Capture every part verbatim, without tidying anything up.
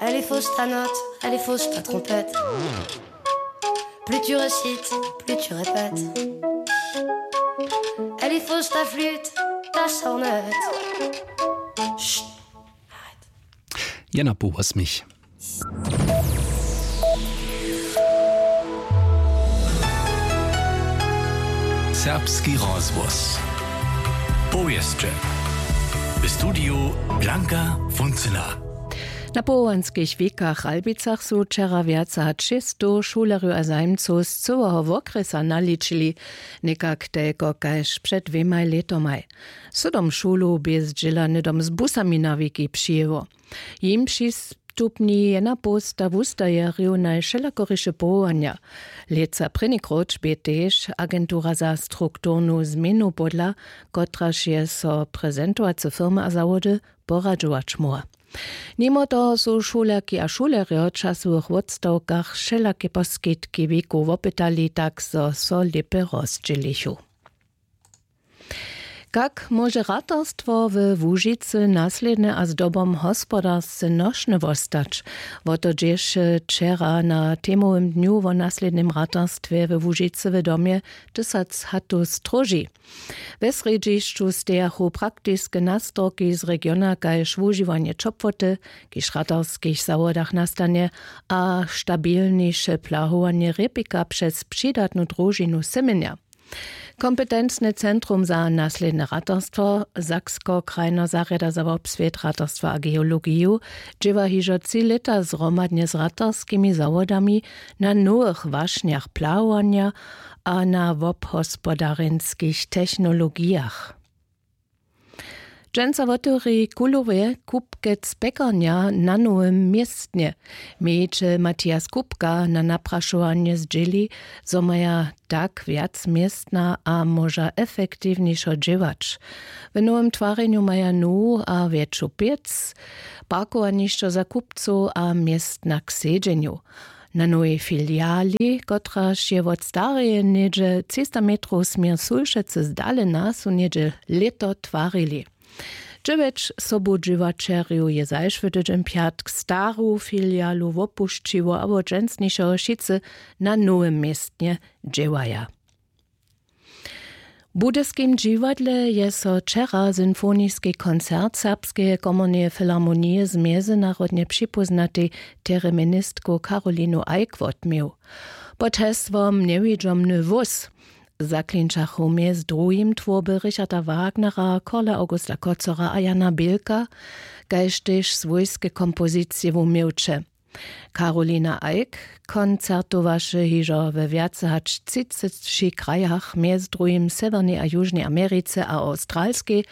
Elle est fausse ta note, elle est fausse ta trompette. Plus tu récites, plus tu répètes. Elle est fausse ta flûte, ta sornette. Chut, arrête. Jena po wosmich. Serbski rozhłos. Powěsće. W studiju Blanka Funcyna. Na powołanskich wikach w Albicach su wčera wjace hač šěsćstow šulerjow a zajimcow z cyłeho wokrjesa naličili, někak telko kaž před dwěmaj lětomaj. Sydom šulow bě zdźěla hnydom z busami na wiki přijěło. Jim přistupni jena połsta wustajerjow na wšelakoriše powołanja. Lětsa prěni króć bě tež agentura za strukturnu změnu podla, kotraž je so prezentowace firmy a zawody poradźować móhła. Nimo toho su šulerki a šulerjo w časowych wotstawkach wšelake poskitki wikow wopytali, tak zo so lěpje rozdźělichu. Kak móže ratarstwo we Łužicy naslědnje a zdobom hospodarsce nošne wostać? Wo to dźěše wčera na temowym dnju wo naslědnym ratarstwje we Łužicy w domje tysac hatow stróži. We srjedźišću stejachu praktiske nastorki z regiona kaž wužiwanje ćopłoty, kiž w ratarskich zawodach nastanje, a stabilniše plahowanje rěpika přez přidatnu družinu symjenja. Kompetencne centrum za naslědne ratarstwo, Saksko-krajna zarjada za wobswět, ratarstwa a geologiju, dźěła hižo tři lěta zhromadnje z ratarskimi zawodami na nowych wašnjach plahowanja a na wobhospodarjenskich technologijach. Dźensa wotewri w Kulowej kupkec pjekarnja na nowym městnje. Mějićel Matias Kupka na naprašowanje zdźěli, zo maja tak wjac městna a móža efektiwnješo dźěłać. W nowym twarjenju maja nowu a wjetšu pěc, parkowanišćo za kupcow a městna k sedźenju. Na nowej filiali, kotraž je wot stareje něhdźe třista metrow směr Sulšecy zdalena, su něhdźe lěto twarili. Dźewjeć sobudźěłaćerjow je zašły tydźeń pjatk staru filialu wopušćiło a wot dźensnišeho wšitcy na nowym městnje dźěłaja. W budyskim dźiwadle je so wčera symfoniski koncert Serbskeje komorneje filharmonije z mjezynarodnje připóznatej tereministkow Karolinu Eick wotměł. Pod hesłom Njewidźomny wós zaklinčachu mjez druhim twórby Richarda Wagnera, Karla Augusta Kocora a Jana Bilka, kaž tež swójske kompozicije wuměłće. Karolina Eick koncertowaše hižo we wjace hač třiceći krajach, mjez druhim w Sewjernej a Južnej Americe a Awstralskej,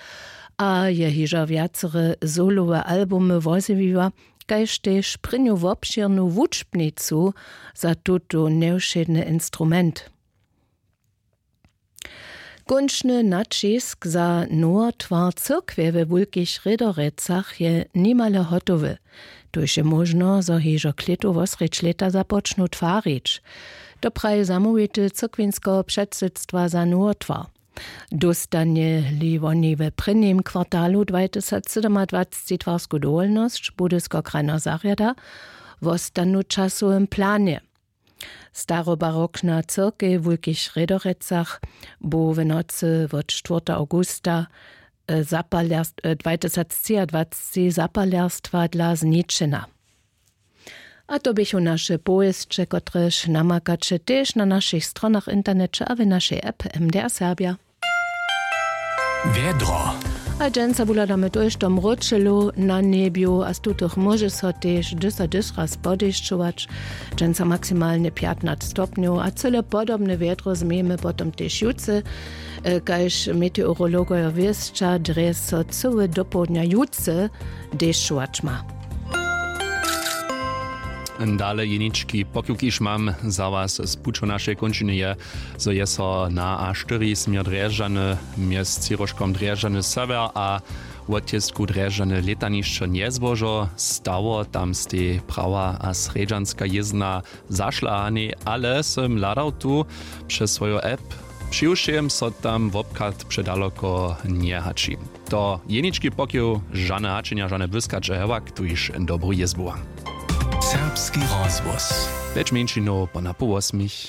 a je hižo wjacere solowe albumy wozjewiła, kaž tež prěnju wobšěrnu wučbnicu za tutu njewšědny instrument. Kónčny naćisk za nowotwar cyrkwje we Wulkich Rědorecach je nimale hotowy. Tuž je móžno, zo hižo klětu wosrjedź lěta započnu twarić. To praji zamołwitel cyrkwinskeho předsydstwa za nowotwar. Dóstanje-li woni w prěnim kwartalu dwajtysacsydomadwacci twarsku dowolnosć, Budyskeho krajneho zarjada wostanu w časowym planje. Starobarokna cyrkej w Wulkich Rědorecach bu w nocy wot štwórta awgusta, e, zapaljerst-, e, dwajtysactřiadwacci zapalerstwa dla zničena. A to běchu naše powěsće, kotrež namakaće tež na našich stronach w interneće a w našej app M D R Serbja. Wjedro. A dźensa wuhladamy tójšto mróčelu na njebju a z tutych móže so tež dysa dys raz podešćować. Dźensa maksimalnje pjatnaće stopnjow a cyle podobne wjedro změjemy potom tež jutře, e, kaž meteorologojo wěsća, drje so cyły dopołdnja jutře dešćować ma. Dale jenički pokiwki, kiž mam za was z pućow našej kónčiny, je, zo je so na A štyri směr Drježdźany mjez třiróžkom Drježdźany sewjer a wotjězku Drježdźany lětanišćo njezbožo stało. Tam stej prawa a srjedźanska jězna zašla, a nej, ale sym hladał tu přez swoju app, přiwšěm so tam wobchad předaloko njehači. To jenički pokiw, žane hačenja, žane błyskaće, hewak tuž dobru jězbu. Serbski rozhłos. Pjeć mjeńšinow pona poł wosmich.